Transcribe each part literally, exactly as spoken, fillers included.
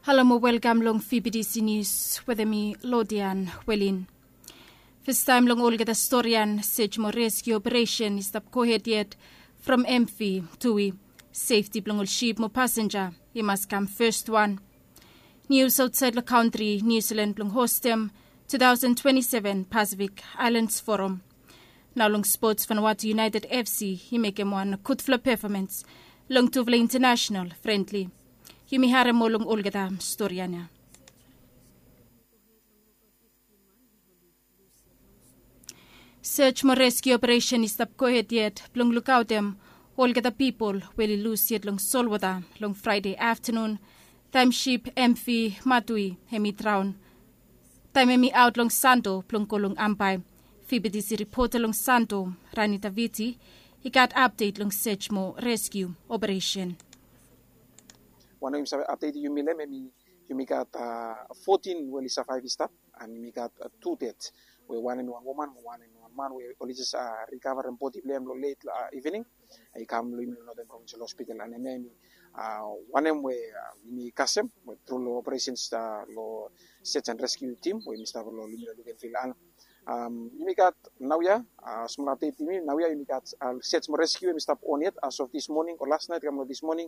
Halo mo welkam long F B C News wetem mi, Lodian Welin. Fastaem long olgeta storian, sej mo reskiu operesen i stap gohed yet from M V Tui. Sefti blong ol sip mo pasenja i mas kam fes wan. Nius aotsaed long kantri, Niu Silan blong hostem two thousand twenty-seven Pacific Islands Forum. Nao long spots, Vanuatu United F C i mekem wan gudfala pefomans long tufala intanasenal frendli. Yumi harem moa long olgeta storian ya. Sej mo reskiu operesen i stap gohed yet blong lukaotem olgeta pipol we oli lus yet long solwota long Fraede aftanun, taem sip M V Matui hem i draon taem hem i aot long Santo blong go long Ambae. F B C ripota long Santo, Rani Taviti, i gat apdet long sej mo reskiu operesen. Wanem yumi save apdet yumi long hem, hem i, yumi gat, a, fotin we oli savaev i stap, and yumi gat, a, tu ded, we wanem i wan woman mo wanem i wan man we oli jes, a, rikavarem bodi blong hem long let, a, ivening. I kam long yumi long Northern Provincial Hospital, and hemia hem i, a, wanem we, a, yumi kasem we tru long operesens, a, long sej and reskiu tim we yumi stap long, long yumi long Luganville. And, am, yumi gat naoia, a, smol apdet yumi naoia, yumi gat, a, sej mo reskiu hem i stap on yet as of this morning o las naet kam long this morning.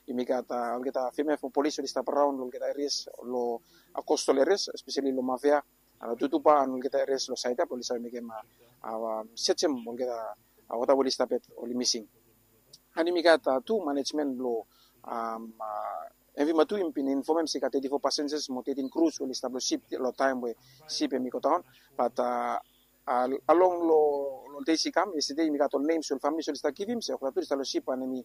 Yumi gat, a, olgeta femia from polis oli stap raon long olgeta erias, long, a, kostal erias, espeseli long Mavea, a, Tutuba and olgeta erias long saed ya blong oli save mekem, a, a, sejem olgeta, a, wota we oli stap yet oli mising. And yumi gat, a, tu manejmen blong, am, a, M V Matui hem i bin infomem se i gat teti fo pasenjas mo tetin krus we oli stap long sip long taem we sip hem i godaon. Bat, a, a, along long, long dei i kam yestede, yumi gat ol nems we ol famili oli stap givim se olgeta tu oli stap long sip, and hem i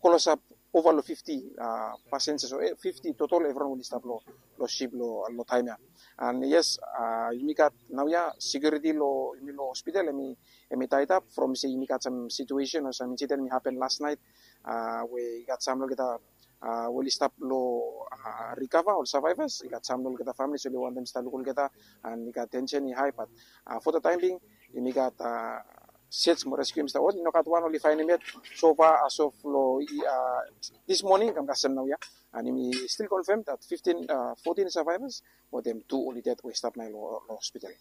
klosap ova long fifti, a, pasenjas o, e, fifti totol evriwan oli stap long, long sip long, long taem ya. And yes, a, yumi gat naoia sekiuriti long, yumi long hospital hem i, hem i taedap from se yumi gat sam situesen o sam insiden we i hapen las naet, a, we i gat sam long olgeta, a, we oli stap long, a, rikava, ol savaevas, i gat sam long olgeta famili oli wantem stap luk olgeta, and i gat tensen i hae, bat, a, fo taem bing yumi gat, a, sej mo reskiu hem i stap on, i no gat wan oli faenem yet so far as of long, a, this morning kam kasem naoia. And yumi stil konfem dat fiftin, a, fotin savaevas wetem tu oli ded we i stap naoia long, long hospital.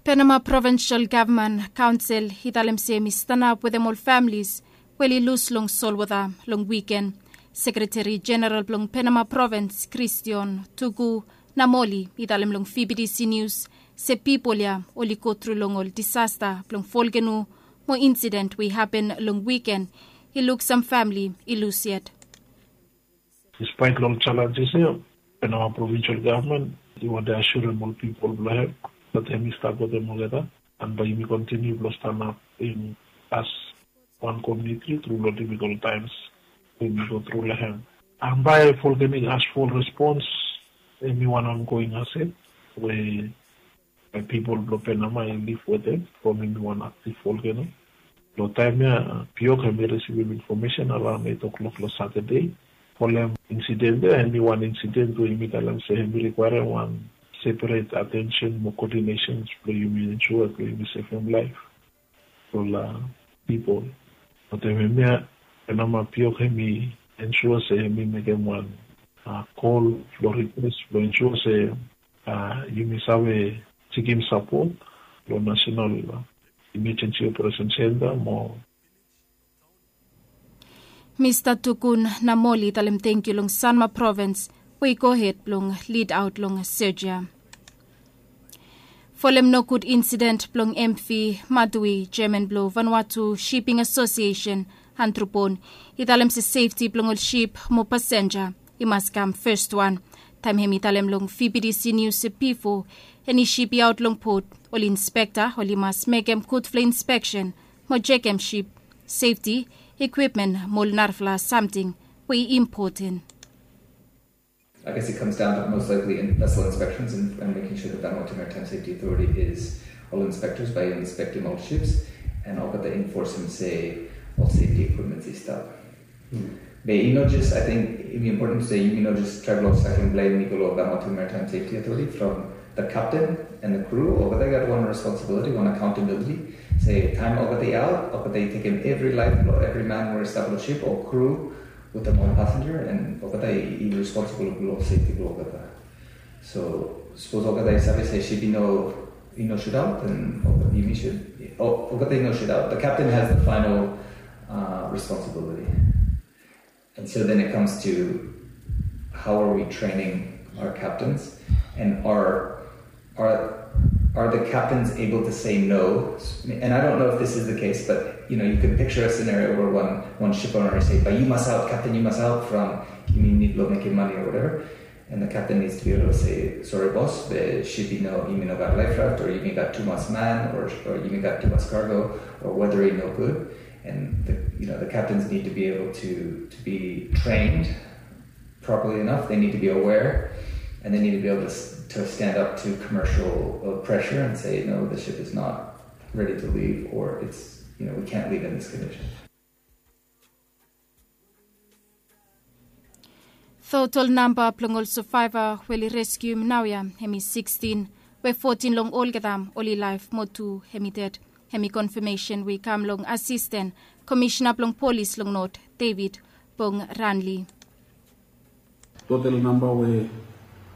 Penama Provinsal Gavman Kaonsel i talem se hem i stanap wetem ol familis we oli lus long solwota long wiken. Sekreteri Jeneral blong Penama Provins, Kristion Tuku Namoli, i talem long F B C Nius se pipol ya oli gotru long ol disasta blong volkeno mo insiden we i hapen long wiken i luk sam famili i lus yet. Dispaet long ol jalenjes ya, Penama Provinsal Gavman i wantem asirem ol pipol blong hem dat hem i stap wetem olgeta, and bae yumi kontiniu blong stanap as wan komuniti tru long difikol taems we yumi gotru long hem. And bae volcanic ashfall response hem i wan ongoing asset we pipol blong Penama i liv wetem from hem i wan aktiv volkeno. Long taem ya, Piok hem i risivim infomesen araon eit o'klok long Satade. Folem insiden ya, hem i wan insiden we yumi talem se hem i rikwaerem wan seperet atensen mo koodinesen blong yumi ensua blong yumi sevem laef blong ol pipol. Wetem hemia, Penama Piok hem i ensua se hem i mekem wan, a, kol blong rikwes blong ensua se, a, yumi save sikim sapot long National Emergency Operation Center mo Mista Tuku Namoli i talem tangkiu long Sanma Provins we i gohed blong lidaot long sej ya. Folem nogud insiden blong M V Matui, jeaman blong Vanuatu Shipping Association, Andrew Bone, i talem se sefti blong ol sip mo pasenja i mas kam fes wan. Taem hem i talem long V B C News se bifo eni sip i aot long pot, ol inspekta oli mas mekem gudfala inspeksen mo jekem sip sefti, ikwipmen mo ol narafala samting we i impoten. I guess it comes down to most likely in vessel inspections and, and making sure that Vanuatu Maritime Safety Authority is ol inspectors by inspecting ol ships and olgeta enforcing se ol safety equipments i stap. Be i no jes, I think, i important se yumi no jes travel long second blame i go long Vanuatu Maritime Safety Authority from the captain and the crew. Olgeta i gat wan responsibility, wan accountability. Se taem olgeta i aot, olgeta i tekem evri laef blong evri man we i stap long ship o crew Wetem ol pasenja, and olgeta i responsible blong sefti blong olgeta. So sapos olgeta i save se sip i no i no shudaot, and yumi sud olgeta i no shudaot, the captain has the final responsibility. And so then it comes to how are we training our captains, and are are are the captains able to say no? And I don't know if this is the case, but you know, you can picture a scenario where one one ship owner is saying, "But you must out, captain, you must out from, you mean, need to make your money or whatever." And the captain needs to be able to say, "Sorry, boss, the ship, you know, you mean, got life raft, or you mean, got too much man, or, or you mean, got too much cargo, or weather ain't no good." And the, you know, the captains need to be able to to be trained properly enough. They need to be aware, and they need to be able to, to stand up to commercial uh, pressure and say, "No, the ship is not ready to leave, or it's, you know, we can't leave in this condition." Total namba blong ol survivor we oli reskium naoia hemi sixteen, we fourteen long olgeta oli laef mo tu hemi ded. Hemi konfamesen we i kam long asisten komishena blong polis long North, David Bong Ranli. Total namba we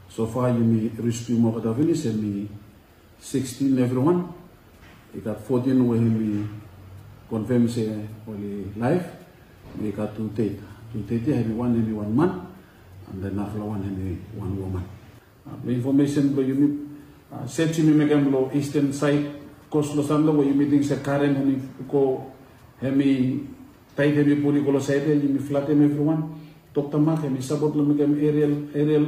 sofa yumi reskium olgeta finis hemi sixteen evriwan. I gat fourteen we hemi konfam se oli laef. I gat tu ded, tu ded ya hemi wan hemi wan man, and then narafala wan hemi wan woman. Long infomesen blong yumi, sej yumi mekem long isten saed, kos long santa we yumi ting se karen hemi go, hemi taed hemi pul i go long saed ya, yumi flatem evriwan. Dokta Mak hemi sapot long mekem erial, erial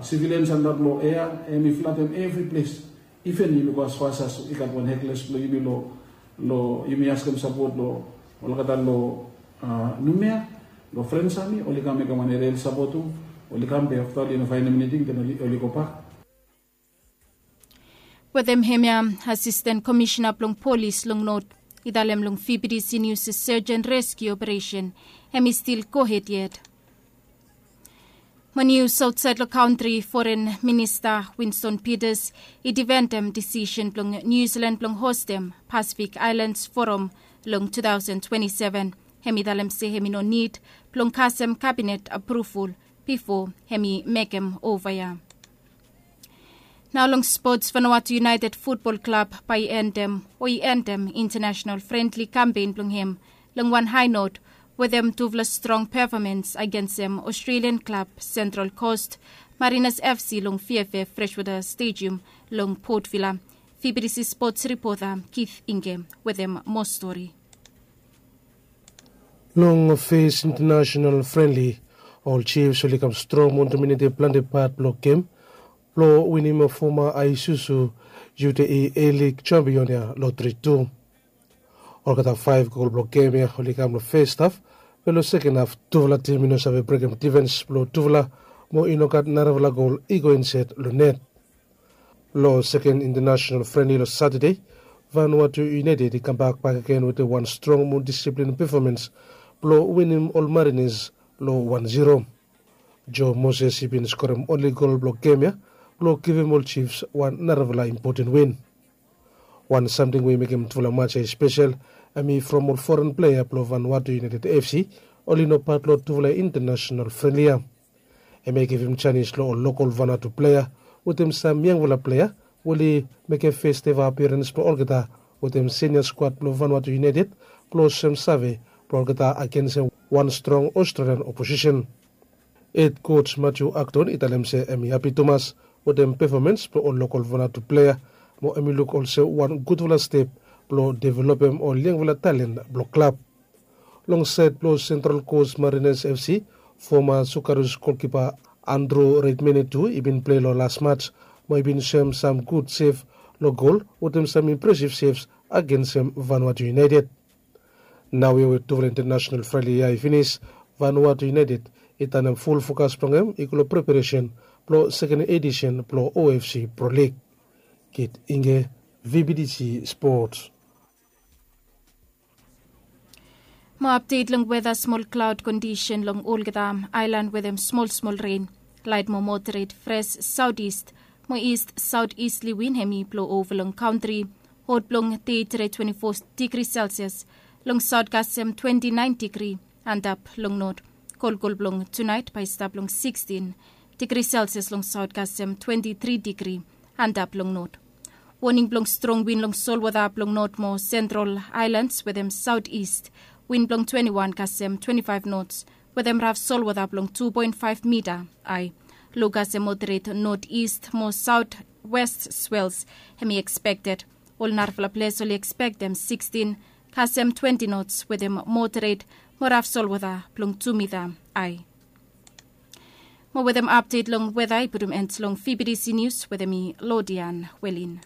sivilian santa blong ea, hemi flatem evri ples. Iven yumi go asfas as i gat wan hekles blong yumi long, long yumi askem sapot long olgeta long Numea, long Frensami, oli kam mekem wan erial sapot tu. Oli kam be afta oli no faenem eniting, den oli gobak. Wetem hemia, asisten komishena blong polis long North i talem long V B T C News se search and rescue operation hemi stil gohed yet. Mo nius aotsaed long kantri, Foren Minista Winston Peters i difendem disisen blong Niu Silan blong hostem Pacific Islands Forum long two thousand twenty-seven. Hemi talem se hemi no nid blong kasem kabinet apruvol bifo hemi mekem ova ya. Nao long spots, Vanuatu United Futbol Klab bae i endem o i endem intanasenal frendli kampen blong hem long wan hae not wetem tufala strong pefomans agensem Australian klab Central Coast Mariners F C long Fiafe Freshwater Stadium long Port Vila. V B T C spots ripota Keith Inge wetem moa stori. Long fes intanasenal frenli, ol Chiefs oli kam strong mo domineti plante pat blong gem blong winim foma Isuzu U T E A-League champion ya long tri tu. Olgeta faef gol blong gem ya oli kam long fes haf, be long seken haf tufala tim i no save brekem difens blong tufala, mo i no gat narafala gol i go insaed long net. Long seken intanasenal frenli long Satade, Vanuatu United i kambak bakegen wetem wan strong mo disiplin pefomans blong winim ol Mariners long wan ziro. Joe Moses i bin skorem onli gol blong gem ya blong givim ol Chiefs wan narafala impoten win. Wan samting we i mekem tufala maj ya i spesel, hemi from ol foren plea blong Vanuatu United F C oli no pat long tufala intanasenal frenli ya. Hemia i givim janis long ol lokol Vanuatu plea wetem sam yangfala plea we oli mekem fes eva apiarens blong olgeta wetem sinia skwad blong Vanuatu United blong olsem save blong olgeta agensem wan strong Australian oposisen. Hed koj Matthew Acton i talem se hemi hapi tumas wetem pefomans blong ol lokol Vanuatu plea, mo hemi luk olsem wan gudfala step blong developem ol yangfala talen blong klab. Long saed blong Central Coast Mariners F C, foma Socceroos golkipa Andrew Redmayne tu i bin plei long las maj, mo i bin soem sam gud sev long gol wetem sam impresiv sevs agensem Vanuatu United. Naoia we tufala intanasenal frenli ya i finis, Vanuatu United i tanem ful fokas blong hem i go long preparesen blong seken edisen blong O F C Pro League. Keith Inge, V B T C Sports. Mo apdet long weta, smol klaod kondisen long olgeta aelan wetem smol smol ren. Laet mo moderet fres saotis mo ist saotisli win hemi blo ova long kantri. Hot blong teti re twenti fo digri Celsius. Long saot kasem twenti naen digri. antap long not. Kolkol blong tunaet bae i stap long sikstin digri selsias long saot kasem twenti tri digri antap long not. Woning blong strong win long solwota blong not mo sentral aelans wetem saot ist. Win blong twenti wan kasem twenti faef nots wetem raf solwota blong tu poen faef mita. Ae lo kasem moderet not ist mo saot west swels hem i ekspekted. Ol narafala ples oli ekspektem sikstin kasem twenti nots wetem moderet mo raf solwota blong tu mita. Ae mo wetem apdet long weta i putum end long fibidisi nius wetem i lodian welin.